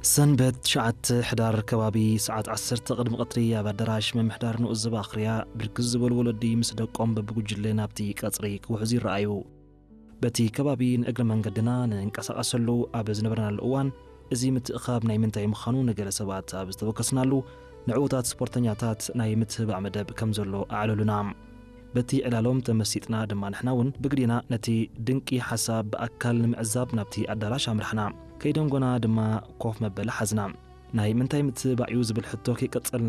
ሰንበት ትሽዓተ ሕዳር ከባቢ ሰዓት ዓሰርተ ቅድሚ ቀትሪ ኣብ ኣዳራሽ ምምሕዳር ንኡስ ዞባ ኣኽርያ ብርክት ዝበሉ ወለዲ ምስ ደቆም በብጉጅለ ናብቲ ቀጽሪ ክውሕዙ ይረኣዩ። በቲ ከባቢ ንእግረ መንገድና ንንቀሳቐሰሉ ኣብ ዝነበርናሉ እዋን፣ እዚ ምትእኻብ ናይ ምንታይ ምዃኑ ንገለ ሰባት ኣብ ዝተወከስናሉ፣ ንዕዉታት ስፖርተኛታት ናይ ምትህባዕ መደብ ከም ዘሎ ኣዕለሉና። በቲ ዕላሎም ተመሲጥና ድማ ንሕና እውን ብግዴና ነቲ ድንቂ ሓሳብ ብኣካል ንምዕዛብ ናብቲ ኣዳራሽ ኣምራሕና። ከይደንጎና ድማ ኮፍ መበሊ ሓዝና። ናይ ምንታይ ምትህባዕ እዩ ዝብል ሕቶ ከይቀጸልና